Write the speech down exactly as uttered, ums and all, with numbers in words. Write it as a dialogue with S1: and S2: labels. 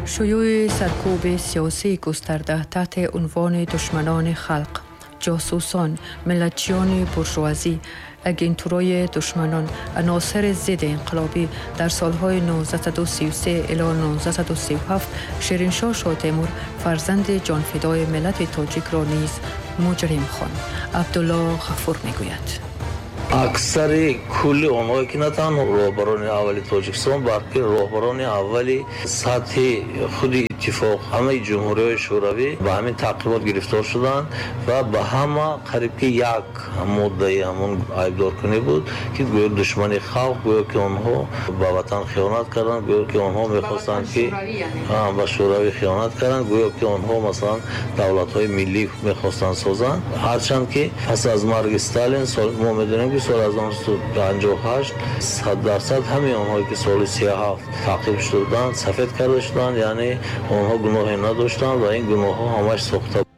S1: شیوع سرکوب سیاسی گسترده تحت عنوان دشمنان خلق، جاسوسان، ملتچیان بورژوازی، اگنتورای دشمنان، عناصر ضد انقلابی در سالهای هزار و نهصد و سی و سه الی هزار و نهصد و سی و هفت شیرینشاه شاه تیمور فرزند جانفدای ملت تاجیک را نیز مجرم خواند. عبدالله غفور میگوید.
S2: Аксари кулли онҳое ки на танҳо роҳбарони аввали Тоҷикистон, балки роҳбарони аввали сатҳи худи иттифоқ, ҳамаи ҷумҳуриҳои шӯравӣ ба ҳамин таъқибот гирифтор шуданд ва ба ҳама қариб ки як моддаи ҳамон айбдоркунӣ буд, ки гӯё душмани халқ, гӯё ки онҳо ба ватан хиёнат карданд, гӯё ки онҳо мехостанд ки ба шӯравӣ хиёнат карданд, гӯё ки онҳо масалан давлатҳои миллӣ мехостанд созанд. Ҳарчанд ки пас аз марги Сталин мо медонем ки соли ҳазору нӯҳсаду панҷоҳу ҳашт сад дарсад ҳамаи онҳое ки соли сию ҳафт таъқиб шуда буданд, сафед карда шуданд, яъне онҳо гуноҳе надоштанд ва ин гуноҳҳо ҳамаш сохта.